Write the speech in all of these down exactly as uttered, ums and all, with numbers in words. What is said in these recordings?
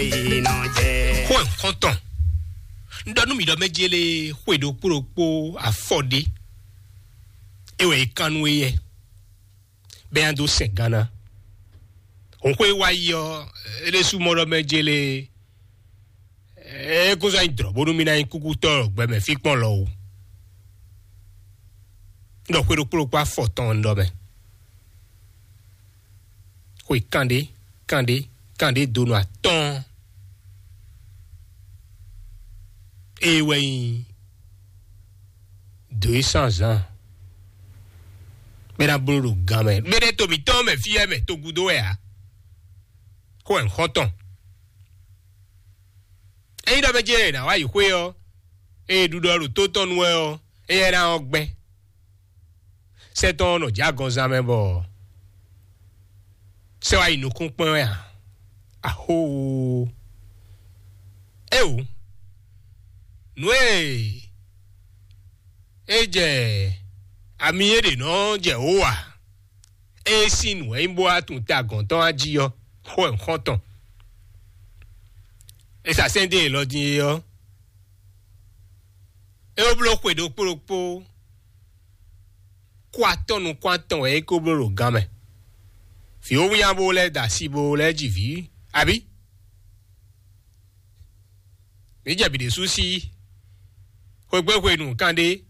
Xó ɛ xɔ́ntɔn. Un ɖɔ nú mi ɖɔ mɛ jele xwe ɖokpó ɖokpó afɔ ɖé. É wɛ é kan nú éyɛ. Bɛ́ nya dó sɛn gánná. Hǔn xwé wá yi ɔ́, é ɖésú mɔ ɖɔ mɛ jele. É kó zɔ́ nyi dlɔ̌ bónú mì ná nyí kúkútɔ́ gbɛmɛ fí kpɔ́n lɔ o. Un ɖɔ xwe ɖokpó ɖokpó afɔ tɔn un ɖɔ mɛ. Xwe kanɖé kanɖé kanɖé donu atɔ́ɔ́n. Ée wɛ nyí dǒ e sán zǎn. Bɛ ná bló ɖo gan mɛ. Bɛ ɖɛ to mǐtɔn mɛ fí wɛ mɛ to gúdo wɛ ǎ. Xó wɛ un xɔ́n tɔn. Ényí ɖɔ mɛ jɛ nǎ wá yi xwé ɔ́, ée ɖuɖɔ ɖo tó tɔn nu wɛ ɔ́, éyɛ́ ná ɔ́ gbɛ́. Sɛ́ tɔn nɔ jɛ agɔnzán mɛ bɔ sɛ́ wá yi nukún kpɛ́n wɛ ǎ. Ahóoo! Éwú, nǔ e é jɛ ami é ɖě nɔ jɛ wǒ ǎ. É sín nǔ wɛ nyí bó wá tunwun ta gɔ̌n tɔn wá jí ɔ́, xó wɛ un xɔ́n tɔn. É sa sɛ́n dó elɔ din é ɔ́, é wó bló xwe ɖokpó ɖokpó. Kó atɔ́ nukún atɔn wɛ é ko bló ɖo gan mɛ. Vǐ ó wínnyá bó lɛ́ da asi bó lɛ́ ji vǐ, abǐ? Mǐ jɛ bǐ ɖésú sí xwegbe hwenu kanɖé.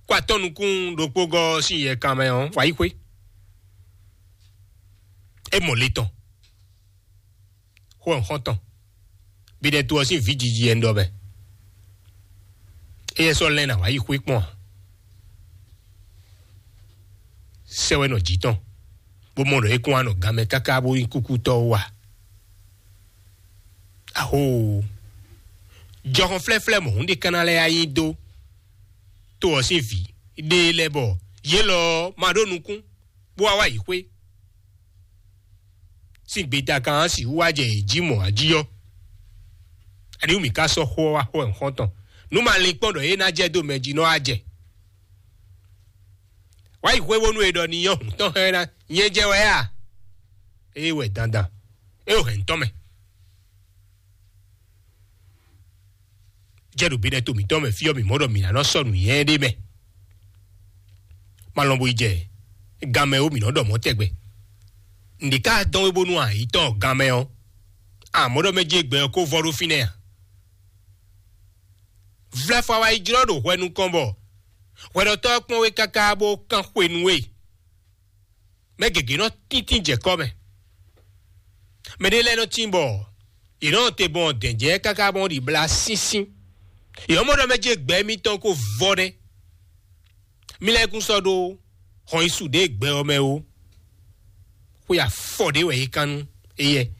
Kó atɔ́ nukún ɖokpó gɔ́ sín yɛ kan mɛ ɔ́, wǎ yi xwé. É mɔ le tɔn. Xó ɔ́ xɔ́ntɔn. Bíɖɛ́ to ɔ́ sín vǐ jiji wɛ un ɖɔ mɛ. Éyɛ́ sɔ́ lɛ́n ná wá yi xwé kpɔ́n ǎ. Sɛ́ wɛ nɔ jǐ tɔn, bó mɔ ɖɔ é kún wá nɔ gan mɛ káká bó nyí kúkútɔ́ ó a? Ahoo! Jɔhɔn flɛ́flɛ́ mɔ̌hun ɖé ka ná lɛ́ yá nyi dó to ɔ́ sín vǐ ɖé lɛ́ɛ bɔ yě lɔ ɔ́ ma ɖó nukún, bó wá wá yi xwé. Sín gbeta kan ɔ́ sixú wá jɛ yě jí mɔ̌ a jí ɔ́, aniwú mǐ ka sɔ́ xó ɔ́ wá xó wɛ xɔ́ntɔn, nú ma lin kpɔ́n ɖɔ é ná jɛ dó mɛ jí nɔ́ wá jɛ. Wá yi xwé bónú è ɖɔ n'i nyɔ́ hǔn tɔn xá ɛ ná nyɛ jɛ wɛ a? Ée wɛ dandan, é ɖo hɛ̌n tɔn mɛ. Jɛ ɖo bínɛ to mǐtɔn mɛ fí ɔ́, mǐ mɔ ɖɔ mǐ ná nɔ sɔ́ nǔnywɛ́ ɖé mɛ. Má lɔn bo yi jɛ gan mɛ ó, mǐ nɔ ɖɔ mɔ̌ tɛgbɛ. Nǔɖé ka dɔn wé bónú a yi tɔn gan mɛ ɔ́, a mɔ ɖɔ mɛ jí gbɛ ɔ́ kó vɔ ɖó fínɛ́ a? Vlɛfɔ wa yi jlɔ́ ɖo hwɛ nukɔn bɔ hwɛɖɔtɔ́ ɔ́ kpɔ́n we káká bó kán xwe nú we. Mɛ gěgé nɔ tíntín jɛ kɔ́ mɛ. Mɛ ɖé lɛ́ɛ nɔ tín bɔ yě nɔ te gbɔn dɛ̌njɛ́ káká gbɔn ɖi blá sínsín. Yě nɔ mɔ ɖɔ mɛ jí gbɛ mitɔn ko vɔ nɛ́. Mi lɛ́ kún sɔ́ ɖó xɔn yi su ɖě gbɛ ɔ́ mɛ ó. Xwe afɔ ɖé wɛ é kán nú éyɛ́.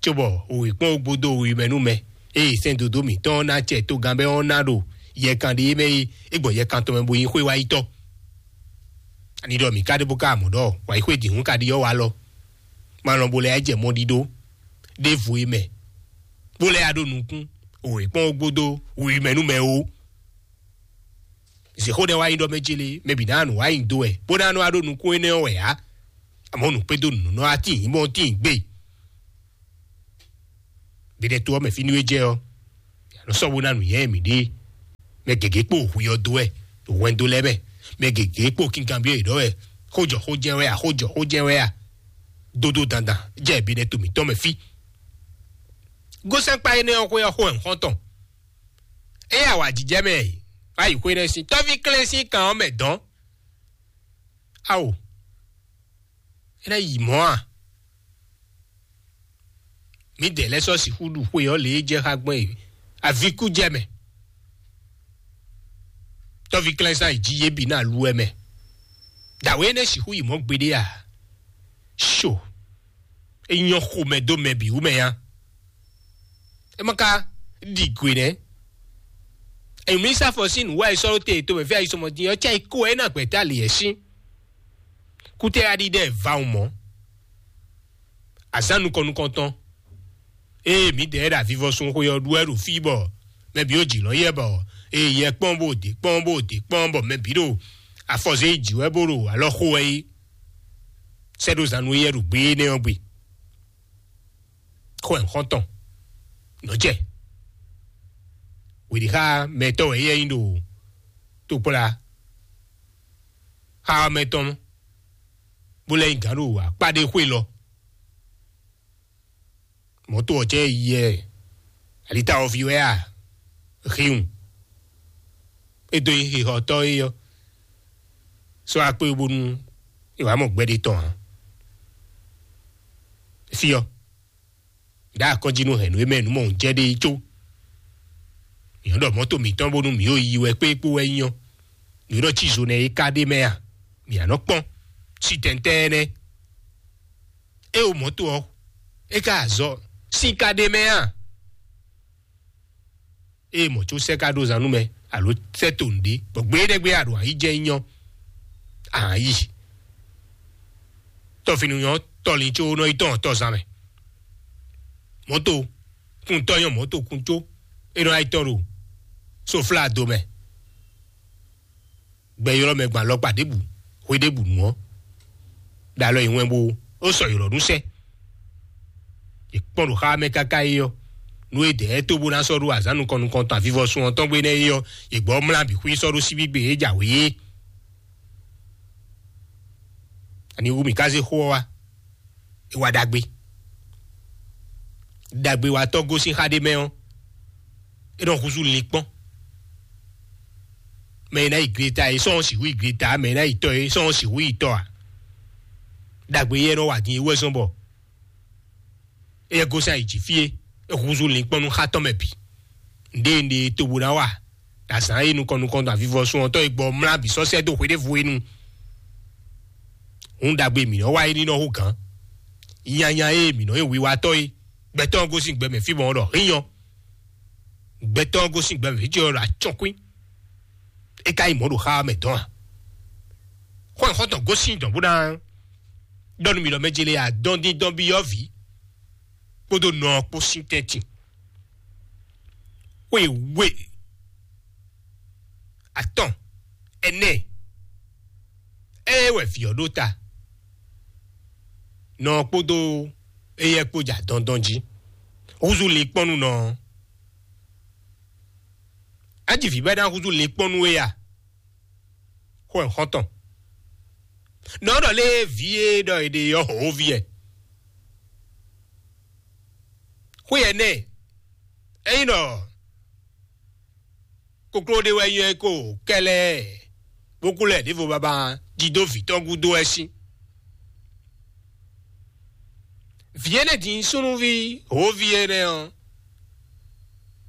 Cóbɔ wěkpɔ́n gbodo wǐ mɛ nú mɛ, eye sɛ́n dodó mǐtɔn ɔ́ ná acɛ togán bɛ́ ɔ́ ná ɖo yɛkan ɖé mɛ é, é gbɔn yɛkan tɔn mɛ bo nyí xwé wá yi tɔ́. Ani ɖɔ mǐ ka ɖe bó ka mɔ ɖɔ wǎ yi xwé dǐhún ka ɖi ɔ́ wá lɔ. Má lɔn bo lɛ́ jɛ mɔ ɖiɖó ɖěvo é mɛ, bó lɛ́ ya ɖó nukún wěkpɔ́n gbodo wǐ mɛ nú mɛ ó. Zǐxó ɖɛ wá nyi ɖɔ mɛ céle, mɛ bǐ ná nǔ wá nyi dó wɛ, bó ná nɔ wá ɖó nukún énɛ́ ɔ́ wɛ ǎ. Amɔ̌ nǔkpɛ́dó nǔ nɔ wá tíin bɔ tíin gbé. Bǐɖɛ́ to ɔ́ mɛ fínú é jɛ ɔ́, yě nɔ sɔ́ bó ná nǔnywɛ́ mǐɖée. Mɛ gěgé kpó hwi ɔ́ dó wɛ, hwɛndo lɛ́ɛ mɛ. Mɛ gěgé kpó kinkanbyɔ́ yě ɖɔ wɛ, xójɔ xó jɛ́n wɛ a, xójɔ xó jɛ́n wɛ a. Dódó dandan jɛ bǐɖɛ́ to mǐtɔn mɛ fí. Gósɛ́nkpa énɛ́ ɔ́ xwé ɔ́ xó wɛ un xɔ́n tɔn. Ée awǎjijɛ mɛ wá yi xwé nɛ́ sín tɔ́ví klɛ́n sín kan ɔ́ mɛ dɔn. Ao, é ná yi mɔ̌ a? Mǐdɛɛ lɛ́ɛ sɔ́ sixú ɖu xwe ɔ́ lě e jɛ xá gbɔn e avíkú jɛ mɛ. Tɔ́ví klɛ́nsán yi jí yě bǐ ná lu wɛ mɛ. Dǎwe énɛ́ sixú yi mɔ̌ gbeɖé a? Sho, é nyɔ́ xomɛ dó mɛ bǐ wú mɛ nya. É ma ka ɖi gwe nɛ́. Èmi sá fɔ sín nǔ wá yi sɔ́ ɖó te to mɛ fí ayi sɔmɔ din ɔ́, cɛ yi kó ɛ ná gbɛ̌ta lǐ ɛ sín. Kútɛ aɖi ɖɛ va mɔ. Azán nukɔn nukɔntɔn. Ée mǐdɛɛ ɖo avivɔsun xwe ɔ́ ɖu wɛ ɖo fí bɔ mɛ bǐ ó jǐ lɔ yɛ bɔ eye yɛ kpɔ́n bó dě kpɔ́n bó dě kpɔ́n bɔ mɛ bǐ ɖo afɔzé yi jǐ wɛ bó ɖo alɔ xo wɛ é. Sɛ́ ɖó zan nú éyɛ́ ɖo gbé énɛ́ ɔ́ gbe. Xó ɛ xɔ́ntɔn nɔ́ jɛ wěɖixá mɛtɔ́ wɛ yɛ nyí ɖo tokpla xá mɛtɔn bó lɛ́ nyí gǎn ɖo akpá ɖé xwé lɔ. Mɔ̌to ɔ́ jɛ yɛ alita ɔ́ ví wɛ a? Híhun. É dó nyí xixɔtɔ́ é ɔ́, sɔ́ akpé bónú è wǎ mɔ gbɛɖe tɔn ǎ. Fí ɔ́, ɖǎ akɔ́njí nú hɛ̌nnu e mɛ nǔ mɔ jɛ ɖe có. Mǐ nɔ́ ɖɔ mɔ̌to mǐtɔn bónú mǐ yi wɛ kpékpó wɛ nyí ɔ́, nǔ e nɔ cí zo nɛ́ é ka ɖ'é mɛ a? Mǐ a nɔ kpɔ́n sí tɛntɛ́ nɛ́. É wo mɔ̌to ɔ́, é ka azɔ sín ka ɖ'é mɛ a? Ée mɔ̌ có sɛ́ ka ɖó zan nú mɛ alo sɛ́ to nǔɖé, bɔ gbé ɖɛ́ gbé a ɖo ayǐ jɛ nyí ɔ́, a nǎ yi. Tɔfinu nyɔ́ tɔlin có nɔ yi tɔn tɔzán mɛ. Mɔ̌to kuntɔ́ nyɔ́ mɔ̌to kun có é nɔ yi tɔn ɖo soflá do mɛ. Gbɛ ylɔ́ mɛ gbɔn alɔkpa ɖěbǔ, xwé ɖěbǔ nu ɔ́, ɖo alɔ yi wɛn bó ó sɔ ylɔ̌ nú sɛ́. È kpɔ́n ɖo xá mɛ káká é ɔ́, nú é dɛ̌ tó bó ná sɔ́ ɖó azǎn nukɔn nukɔn tɔn avivɔsun ɔ́ tɔn gbé nɛ́ é ɔ́, è gbɔ mlá bǐ xwí sɔ́ ɖó síbígbe é jǎwe é. Ani wú mǐ ka zé xó ɔ́ wá? É wá ɖagbe. Ɖagbewatɔ́ gosín xá ɖé mɛ ɔ́, é nɔ húzú linkpɔ́n. Mɛ e ná yi gleta é sɔ́ ɔ́ sixú yi gleta, mɛ e ná yi tɔ é sɔ́ ɔ́ sixú yi tɔ ǎ. Ɖagbe yɛ nɔ wa din é wɛ zɔn bɔ éyɛ́ gosín ayǐ jí fí é, é húzú linkpɔ́n nú xá tɔn mɛ bǐ. Nǔɖé nǔɖé e tobo ná wa ɖo azǎn e nukɔn nukɔn ɖo avivɔsun ɔ́ tɔn e gbɔ mlá bǐ sɔ́ sɛ́ dó hweɖévú é nu. Hǔn ɖagbe mǐ nɔ́ wa é ní nɔ hú gǎn. Nyanya e mǐ nɔ́ nyí hwiwatɔ́ é, gbɛtɔ́ ɔ́ gosín gbɛ mɛ fí mɔ̌ ɖɔ hín ɔ́. Gbɛtɔ́ ɔ́ gosín gbɛ mɛ fí ɔ́ ɖo acɔ́kwín. É ka nyí mɔ̌ ɖo xá ɔ́ mɛ dɔn a? Xɔ́nyixɔ́ntɔn gosín dɔn bó ná ɖɔ nú mì ɖɔ mɛ ce lě adɔn dín dɔn byɔ́ vǐ kpódó nɔ ɔ́ kpó sín tɛ́ntin. Xwe we atɔn ɛnɛ ée wɛ vǐ ɔ́ ɖó ta nɔ ɔ́ kpódó éyɛ́ kpó ja dɔndɔn jí húzú linkpɔ́n nú nɔ ɔ́. Á ji vǐ bɔ é ná húzú linkpɔ́n nú we a? Xó ɛ xɔ́ntɔn. Nɔ ɖɔ lé vǐ e ɖɔ è ɖe ɔ́ hǒví ɛ. Xwé ɛ nɛ́ ényí ɖɔ kokló ɖé wɛ nyɔ́ ɛ ko kɛlɛ bó kú lɛ ɖěvo baba jí dó vǐ tɔn gúdo wɛ sín. Vǐ énɛ́ din súnnuví hǒví énɛ́ ɔ́,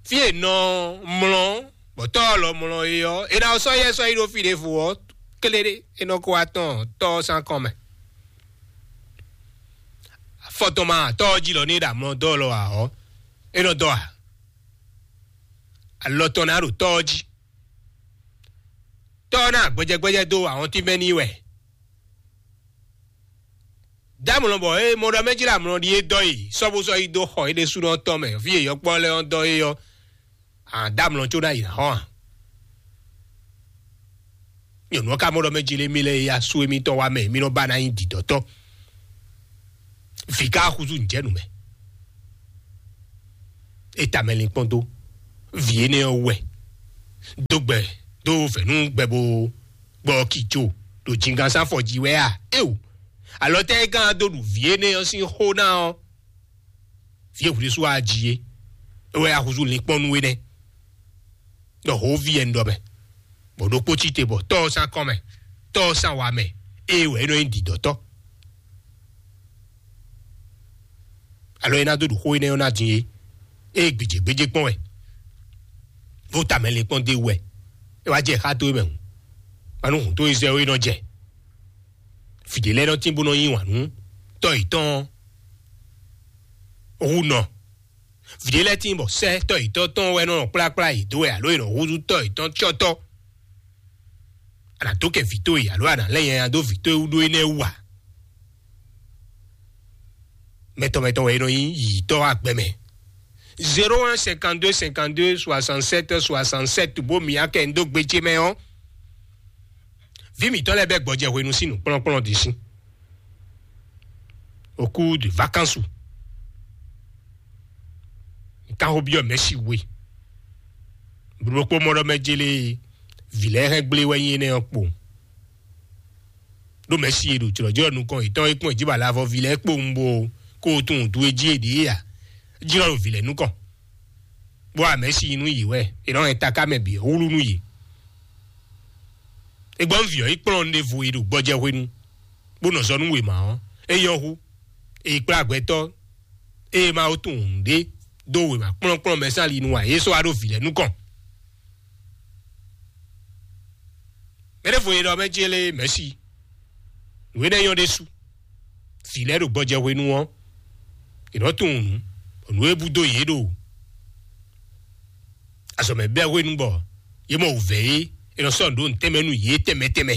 fí e nɔ mlɔ́ bɔ tɔ́ ɔ́ lɔ mlɔ́ é ɔ́, è nǎ sɔ́ yɛ sɔ́ yi ɖó fí ɖěvo ɔ́, kléɖé é nɔ ko wá tɔn tɔ́ ɔ́ sín akɔn mɛ. Afɔ tɔn ma tɔ́ ɔ́ jí lɔ ní é ɖo amlɔ dɔ́ lɔ ǎ ɔ́, é nɔ dɔ́ ǎ. Alɔ tɔn ná ɖo tɔ́ ɔ́ jí. Tɔ́ ɔ́ ná gbɛjɛgbɛjɛ dó ahɔntínmɛ n'i wɛ. Dǎmlɔ bɔ é mɔ ɖɔ mɛ jí ɖo amlɔ ɖi é dɔ́ yi sɔ́ bó sɔ́ yi dó xɔ é ɖésúnɔ tɔn mɛ fí e yɔkpɔ́ lɛ́ɛ ɔ́ dɔ́ é ɔ́, a dǎmlɔ có ná yi ná xɔ a? Nyɔ̌nu ɔ́ ka mɔ ɖɔ mɛ jí lé mì lɛ́ɛ ya sú émítɔn wá mɛ mí nɔ ba ná nyí dǐdɔ́tɔ́. Vǐ ka húzú nǔjɛnǔ mɛ. É ta mɛ linkpɔ́n dó vǐ énɛ́ ɔ́ wɛ dó gbɛ dó vɛ̌nú gbɛ bó gbɔ kijo ɖo jingán sín afɔ jí wɛ a? Éo, alɔ tɛ́ é gán dó ɖu vǐ énɛ́ ɔ́ sín xó ná ɔ́? Vǐ e hwlísú a ji é, é wɛ a húzú linkpɔ́n nú énɛ́. Ɖɔ hǒví ɛ un ɖɔ mɛ, bɔ ɖokpó cí te bɔ tɔ́ ɔ́ sín akɔ́n mɛ, tɔ́ ɔ́ sín awa mɛ, ée wɛ é nɔ nyí dǐdɔ́tɔ́. Alɔ é ná dó ɖu xó énɛ́ ɔ́ ná din é, ée gbějégbéjé kpɔ́n wɛ, bó ta mɛ lin kpɔ́n dó é wú wɛ, é wá jɛ xá towe mɛ hǔn, ma nú hǔn towe zɛ ó é nɔ jɛ. Vǐ ɖé lɛ́ɛ nɔ tín bó nɔ yí wǎn nú tɔ́ yětɔn ɔ́ hú nɔ. Vǐ ɖé lɛ́ɛ tíin bɔ sɛ́ tɔ́ yětɔn tɔn wɛ nɔ kplákplá yě dó wɛ alo è nɔ húzú tɔ́ yětɔn cyɔ́tɔ́. A nǎ dó kɛ vǐ towe alo a nǎ lɛ́ nyanya dó vǐ towe wú ɖó énɛ́ wú ǎ. Mɛtɔn mɛtɔn wɛ è nɔ nyí yǐyítɔ́ agbɛ mɛ. Zéro un cinquante-deux cinquante-deux soixante-sept soixante-sept bó mǐ akɛ dó gbe ce mɛ ɔ́, vǐ mǐtɔn lɛ́ɛ bɛ́ gbɔjɛ hwenu sín nǔkplɔ́nkplɔ́n ɖě sín. Au cours de vacances, Táxo byɔ́ Mɛ̌si we. Blókpó mɔ ɖɔ mɛ jélé vǐ lɛ́ɛ hɛn gblé wɛ nyí énɛ́ ɔ́ kpo. Ɖó Mɛ̌si e ɖo jlɔ̌jlɔ́ nukɔn yětɔn e kpɔ́n jí bɔ alavɔ vǐ lɛ́ɛ kpowun bó kó tunwun dú e jí è ɖě a? Jlɔ́ ɖo vǐ lɛ́ɛ nukɔn. Bó a Mɛ̌si nú yě wɛ, è nɔ hɛn taká mɛ bǐ ɔ́ wlú nú yě. È gbɔn vǐ ɔ́ yi kplɔ́n ɖěvo e ɖo gbɔjɛ hwenu, bó nɔ zɔ nú wěma ɔ́, é nyɔ́ hú. È yi kplá gbɛtɔ́ ée Mawu tunwun nǔɖé dó wěma kplɔ́nkplɔ́n mɛ sín ali nu ǎ, é sɔ́ wá ɖó vǐ lɛ́ɛ nukɔn. Mɛ ɖěvo e ɖɔ mɛ ce lé Mɛ̌si, nǔ énɛ́ nyɔ́ ɖésú. Vǐ lɛ́ɛ ɖo gbɔjɛ hwenu ɔ́, è nɔ tunwun nǔ, bɔ nǔ e bú dó yě ɖo azɔ̌ mɛ bɛ́ hwenu bɔ yě mɔ wǔvɛ́ é, è nɔ sɔ́ nǔ ɖó nǔ tɛnmɛ nú yě tɛnmɛ tɛnmɛ.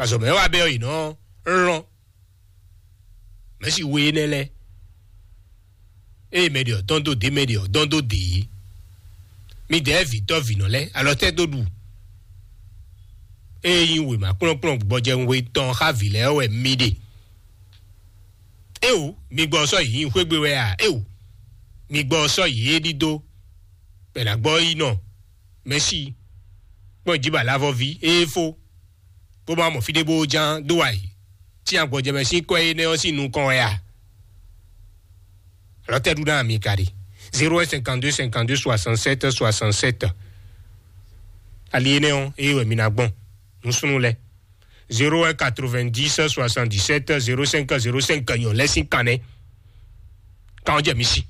Azɔ̌ mɛ wá bɛ́ ɔ́, yě nɔ lɔn Mɛ̌si we énɛ́ lɛ́ɛ. Ée mɛ ɖě ɔ́ dɔn dó dě, mɛ ɖě ɔ́ dɔn dó dě. Midɛɛ vǐtɔ́ vǐnɔ lɛ́ɛ, alɔ tɛ́ dó ɖu. Ée nyí wěma kplɔ́nkplɔ́n gbɔjɛhwe tɔn xá vǐ lɛ́ɛ wɛ mi ɖe. Éwo, mi gbɔ sɔ́ yě nyí xwé gbe wɛ a? Éwo, mi gbɔ sɔ́ yě ɖídó. Bɛ ná gbɔ yi nɔ Mɛ̌si kpɔ́n jí ba lavɔví ée fó, bó ma mɔ fí ɖé bó ján dó wá yi. Tí agbɔjɛmɛ sín kɔ́ énɛ́ ɔ́ sín nukɔn wɛ a? Alɔ tɛ́ ɖu ná mi ka ɖe? Zéro un cinquante-deux cinquante-deux soixante-sept soixante-sept. Ali énɛ́ ɔ́, ée wɛ mi ná gbɔn nǔsúnú lɛ́ɛ. Zéro un quatre-vingt-dix soixante-dix-sept zéro cinq zéro cinq nyɔ̌ lɛ́ɛ sín kannɛ. Kan ɔ́ jɛ mi sí.